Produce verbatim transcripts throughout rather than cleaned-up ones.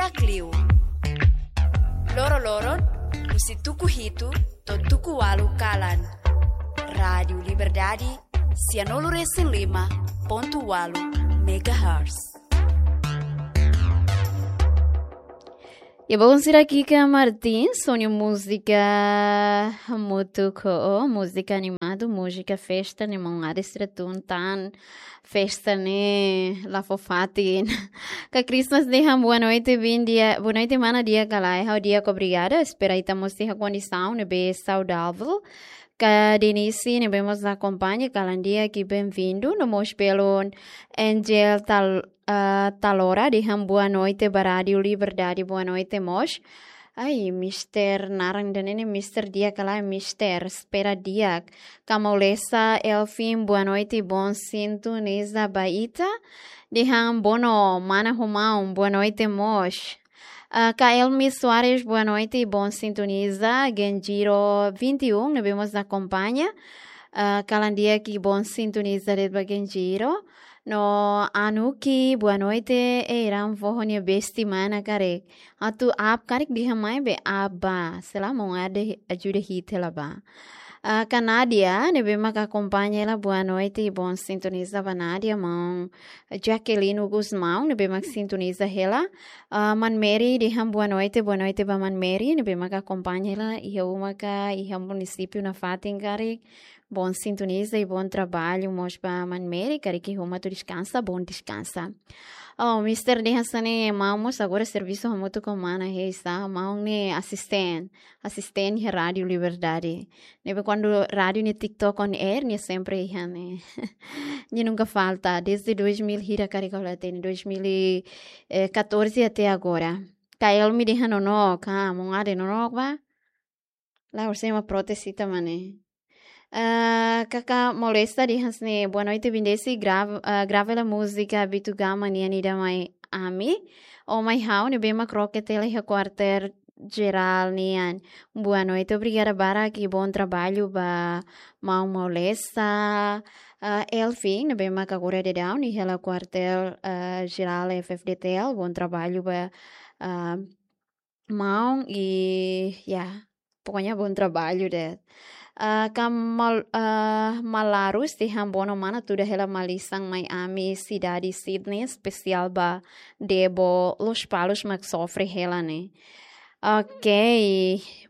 Liu. Loro-loron, husi tuku hitu to'o tuku ualu kalan. Rádiu Liberdade, sianulu resin lima pontu ualu megahertz. Ya, bom, sira, Kika Martins ho nia múzika Mutu Ko, múzika animadu, múzika festa, ne'e maun Ade sira tun tan festa ne'e la fó fatin. Ka Christmas dehan boa noite, bom dia, boa noite, mana, di'ak ka lae? Ha'u di'ak, obrigada. Espera ita mós iha kondisaun ne'ebé saudável. Ka Denise ne'ebé mós akompaña, kalan di'ak i bem-vindo. No mós belun Angel Tal, ah, Talora dehan boa noite ba Rádiu Liberdade, boa noite mós. Ai, Mister naran ida-ne'e ne'e Mister di'ak ka lae, Mister? Espera di'ak. Ka Maulesa Elfin, boa noite, bom sintoniza ba ita. Dehan bono, mana ho maun, boa noite mós. Ah, ka Elmi Soares, boa noite, bom sintoniza. Genjiro vinte e um ne'ebé mós akompaña. Ah, kalan di'ak i bom sintoniza de'it ba Genjiro. No Anuki, boa noite. Ei, ran foho nia besti mana karik. Atu app karik dehan mai be app ba. Sei la, maun Ade ajuda hi'it hela ba. Ah, ka Nadia ne'ebé mak akompaña hela, boa noite i bom sintoniza ba Nadia, maun Jaqueline Gusmão ne'ebé mak sintoniza hela. Ah, Man Mary dehan boa noite, boa noite ba Man Mary ne'ebé mak akompaña hela iha uma ka iha munisípiu nafatin karik. Bom sintoniza i bom trabalho mós ba Man Mary, karik iha uma atu deskansa, bom deskansa. Oh, Mister dehan hanesan ne'e, maun mós agora servisu hamutuk ho mana, hei sa, maun ne'e asisten, asisten iha Rádiu Liberdade. Ne'ebé kuandu rádiu nia TikTok on air, nia sempre iha ne'e. Nia nunka falta, desde dois mil hira karik ha'u la hatene, dois mil e catorze até agora. Ka Elmi dehan nonook, ka maun Ade nonook ba? La, orsida ema protes ita mak ne'e. Ah, Kaka Molesta dehan hanesan ne'e, boa noite, Bindesi, grava, ah, grava hela múzika Bitu Gama nian ida mai ami. Ou mai ha'u ne'ebé mak kroke tele iha kuartél jerál nian. Boa noite, obrigada barak i bom trabalho ba maun Molesta. Ah, Elfin ne'ebé mak agora daudaun iha hela kuartél, ah, jerál F F D T L, bom trabalho ba, ah, maun i, ya, pokoknya bom trabalho de'it. Ah, ka Mal-, ah, Malarus dehan bono mana, tuda hela malisan mai ami sidade Sydney, espesiál ba Debo, Lospalos mak sofre hela ne'e. Ok,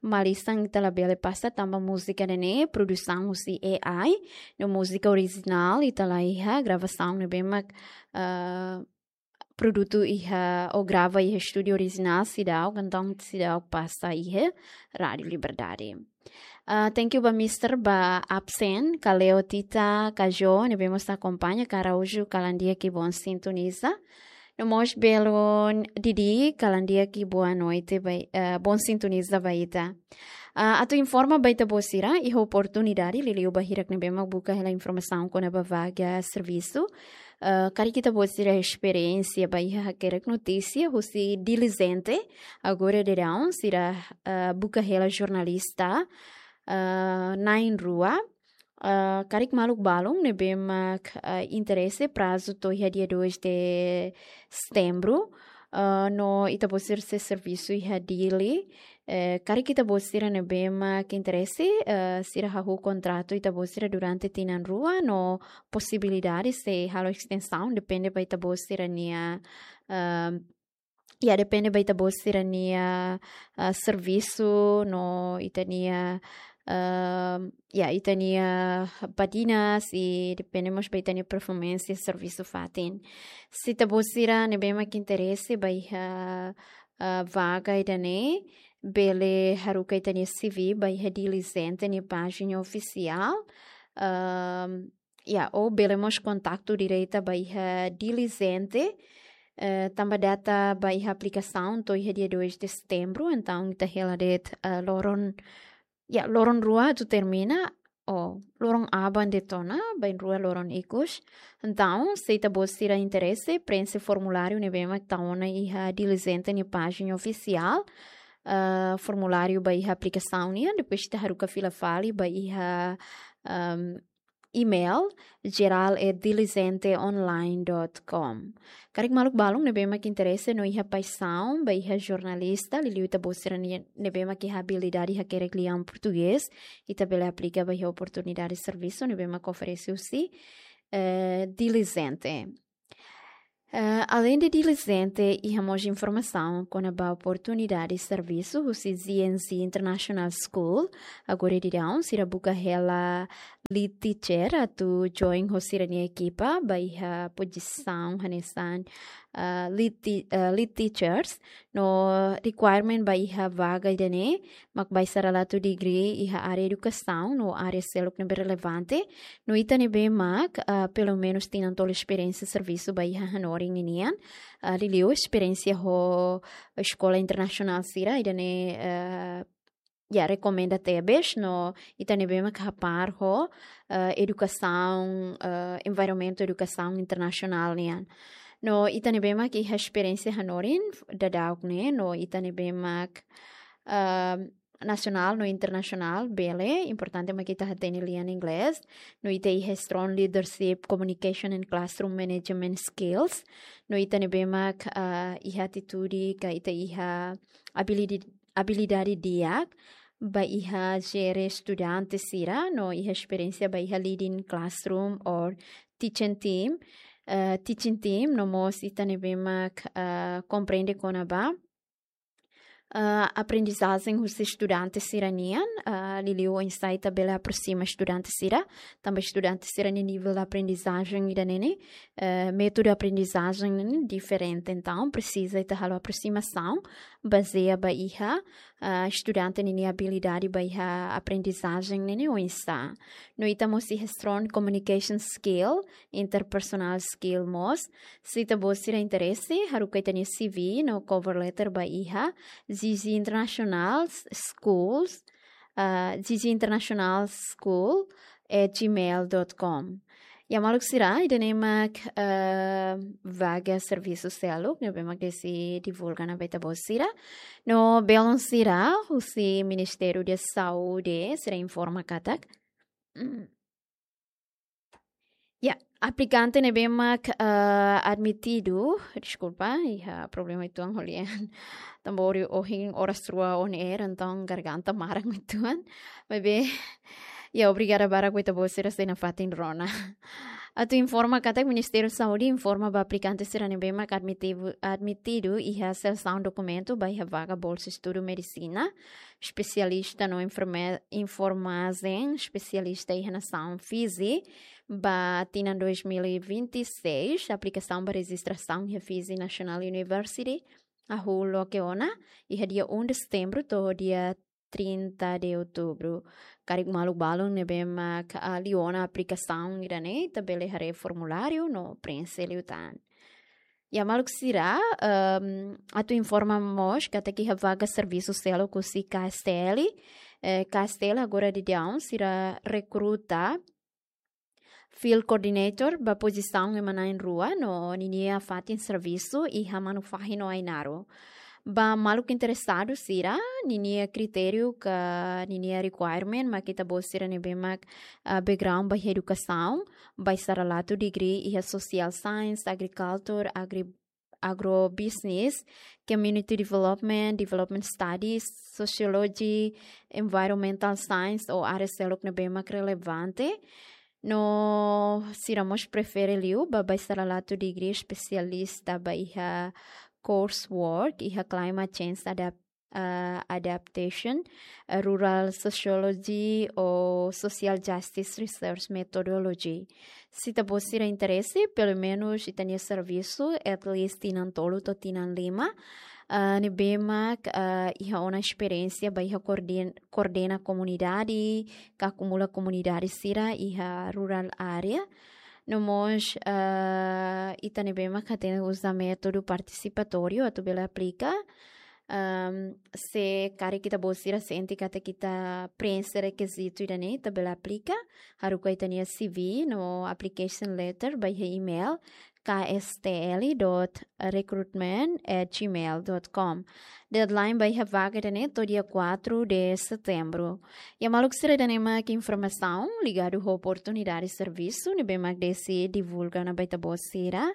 malisan ita labele pasa tanba múzika ne'e produsaun husi A I, no múzika orijinál ita la iha, gravasaun ne'ebé mak, ah, produtu iha, ou grava iha estúdiu orijinál seidauk, entaun seidauk pasa iha Rádiu Liberdade. Ah, thank you ba Mister ba absen, ka Leo Tita, ka Jo ne'ebé mós akompaña, ka Araújo, kalan di'ak i bom sintoniza. No mós belun Didi, kalan di'ak i boa noite ba, eh, bom sintoniza ba ita. Ah, atu informa ba ita-boot sira, iha oportunidade, liuliu ba hirak ne'ebé mak buka hela informasaun kona-ba vaga servisu. Ah, karik ita-boot sira esperiénsia ba iha hakerek notísia husi Dili Gente, agora daudaun sira, ah, buka hela jornalista, ah, na'in-rua. Ah, karik maluk balun ne'ebé mak, ah, interese, prazu to'o iha dia dois de setembro. Ah, no ita-boot sira sei servisu iha Dili. Eh, karik ita-boot sira ne'ebé mak interese, eh, sira hahú kontratu ita-boot sira durante tinan rua, no posibilidade sei halo estensaun, depende ba ita-boot sira-nia, ah, ya, depende ba ita-boot sira-nia, ah, servisu, no ita-nia, ah, ya, ita-nia badinas, i depende mós ba ita-nia performance servisu fatin. Se ita-boot sira ne'ebé mak interese ba iha, ah, vaga ida-ne'e, bele haruka ita-nia C V ba iha Dili Gente nia pájina ofisiál. Ah, ya, ou bele mós kontaktu direta ba iha Dili Gente, eh, tanba data ba iha aplikasaun to'o iha dia dois de setembro, entaun ita hela de'it, eh, loron, ya, loron rua atu termina, ou loron aban de'it ona, bainrua loron ikus. Entaun, se ita-boot sira interese, prenxe formuláriu ne'ebé mak ita ona iha Dili Gente nia pájina ofisiál, eh, formuláriu ba iha aplikasaun nian, depois ita haruka fila fali ba iha, ehm, email geral@diligenteonline.com. Karik maluk balun ne'ebé mak interese no iha paixaun ba iha jornalista, liuliu ita-boot sira-ne'e, ne'ebé mak iha abilidade hakerek lian portugés, ita bele aplika ba iha oportunidade servisu ne'ebé mak oferese husi, eh, Diligente. Eh, além de Diligente, iha mós informasaun kona-ba oportunidade servisu husi G N Z International School. Agora daudaun sira buka hela lead teacher atu join ho sira-nia ekipa ba iha pozisaun hanesan, eh, lead ti-, eh, lead teachers. No requirement ba iha vaga ida-ne'e mak ba sira atu degree iha área edukasaun no área seluk ne'ebé relevante. No ita ne'ebé mak, ah, pelumenus tinan tolu esperiénsia servisu ba iha hanorin ninian. Ah, liuliu esperiénsia ho eskola internasionál sira, ida-ne'e, ah, ya, rekomenda tebes, no ita ne'ebé mak hapar ho, ah, edukasaun, ah, environmentu edukasaun internasionál nian. No ita ne'ebé mak iha esperiénsia hanorin daudauk ne'e, no ita ne'ebé mak, ah, nasionál no internasionál, bele, importante mak ita hatene lian inglés, no ita iha strong leadership, communication and classroom management skills, no ita ne'ebé mak, ah, iha atitude ka ita iha abilidi-, abilidade di'ak ba iha jere estudante sira, no iha esperiénsia ba iha leading classroom or teaching team, eh, teaching team, no mós ita ne'ebé mak, eh, komprende kona-ba, eh, aprendizajen husi estudante sira-nian, eh, liuliu oinsá ita bele aproxima estudante sira, tanba estudante sira-nia nivel aprendizajen ida-ne'e ne'e, eh, métodu aprendizajen ne'e diferente. Entaun, presiza ita halo aproximasaun bazeia ba iha, ah, estudante ninia abilidade ba iha aprendizajen ne'e ne'e oinsá. No ita mós iha strong communication skill, interpersonal skill mós. Se ita-boot sira interese, haruka ita-nia C V no cover letter ba iha G G International Schools, ah, G G International School at gmail dot com. Ya maluk sira, ida-ne'e mak, eh, vaga servisu seluk ne'ebé mak Desi divulga ona ba ita-boot sira. No belun sira, husi Ministériu da Saúde sira informa katak, mm, ya, aplikante ne'ebé mak, eh, admitidu, deskulpa, iha problema uitoan ho lian. Tanba ohin oras rua on air, entaun garganta maran uitoan. Maibé, ya, obrigada barak ba ita-boot sira sei nafatin rona. Atu informa katak Ministériu Saúde informa ba aplikante sira ne'ebé mak admitivu-, admitidu iha selesaun dokumentu ba iha vaga bolsa estudu medisina, espesialista no enferme-, enfermajen espesialista iha nasaun Fiji, ba tinan dois mil e vinte e seis, aplikasaun ba rejistrasaun iha Fiji National University hahú loke ona iha dia um de setembro to'o dia trinta de outubro. Karik maluk balun ne'ebé mak, ah, liu ona aplikasaun ida-ne'e, ita bele haree formuláriu no preenxe liután. Ya maluk sira, ehm, atu informa mós katak iha vaga servisu seluk husi K S T L, eh, K S T L agora daudaun sira rekruta field coordinator ba pozisaun ema na'in-rua no ninia fatin servisu iha Manufahi no Ainaro. Ba maluk interesadu sira, ninia kritériu ka ninia requirement mak ita-boot sira ne'ebé mak, ah, background ba iha edukasaun, ba sira la atu degree iha social science, agriculture, agri-, agrobusiness, community development, development studies, sociology, environmental science ou área seluk ne'ebé mak relevante. No sira mós prefere liu ba sira la atu degree espesialista ba iha coursework iha climate change adap-, ah, adaptation, eh, rural sociology ou social justice research methodology. Se ita-boot sira interese, pelumenus ita-nia servisu at least tinan tolu to'o tinan lima, ah, ne'ebé mak, ah, iha ona esperiénsia ba iha koorden-, koordena komunidade, ka akumula komunidade sira iha rural area. No mós, ah, ita ne'ebé mak hatene uza métodu partisipatóriu atu bele aplika. Ehm, se karik ita-boot sira sente katak ita preenxe rekizitu ida-ne'e, ita bele aplika, haruka ita-nia C V no application letter ba iha email kstl.recruitment@gmail.com. Deadline ba iha vaga ida-ne'e to'o dia quatro de setembro. Iha maluk sira, ida-ne'e mak informasaun ligadu ho oportunidade servisu ne'ebé mak desi divulga ona ba ita-boot sira.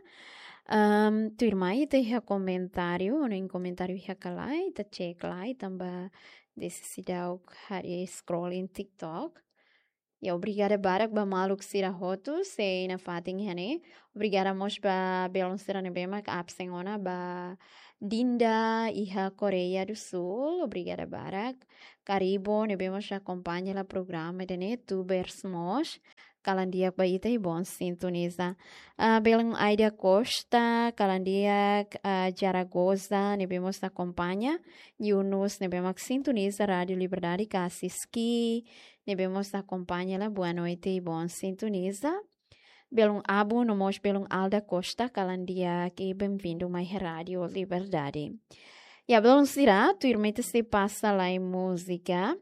Ehm, tuirmai ita iha komentáriu, ou nia komentáriu iha ka lae, ita cek lai, tanba desi seidauk harii scrolling TikTok. Ya, obrigada barak ba maluk sira hotu sei nafatin iha ne'e. Obrigada mós ba belun sira ne'ebé mak absen ona, ba Dinda iha Koreia do Sul. Obrigada barak. Karibo ne'ebé mós akompaña hela programa ida-ne'e, tubers mós. Kalan di'ak ba ita i bom sintoniza. Ah, belun Aida Costa, kalan di'ak, ah, Zaragoza ne'ebé mós akompaña. Yunus ne'ebé mak sintoniza Rádio Liberdade, Kasiski ne'ebé mós akompaña hela, boa noite i bom sintoniza. Belun Abu no mós belun Alda Costa, kalan di'ak i benvindu mai Rádio Liberdade. Ya, belun sira, tuirmai ita sei pasa lai múzika.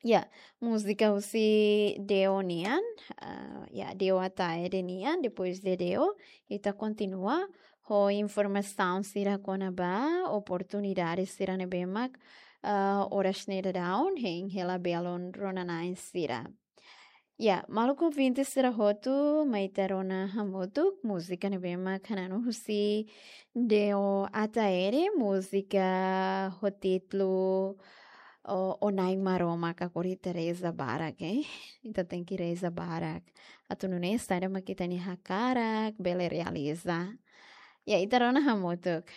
Ya, múzika husi Deo nian, ah, ya, Deo Ataide nian, depois de Deo, ita kontinua ho informasaun sira kona-ba oportunidade sira ne'ebé mak, ah, oras ne'e daudaun hein hela belun rona-na'in sira. Ya, maluk ouvinte sira hotu, mai ita rona hamutuk múzika ne'ebé mak hananu husi Deo Ataide, múzika ho títulu O, O Na'i Maromak, agora ita reza barak, eh? Ita tenke reza barak. Atu nune'e saida mak ita-nia hakarak bele realiza. Ya, ita rona hamutuk.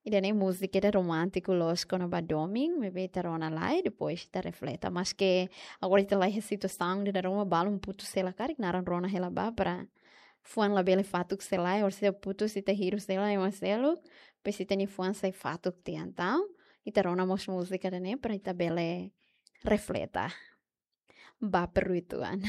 Ida-ne'e múzika ida romántiku loos kona-ba domin, maibé ita rona lai, depois ita refleta. Maske agora ita laiha situasaun ida ruma balun putus hela karik, naran rona hela ba para fuan labele fatuk sei lai, orsida putus ita hirus hela ema seluk, depois ita-nia fuan sai fatuk tiha. Entaun, ita rona mós múzika ida-ne'e para ita bele refleta. Ba peruituan.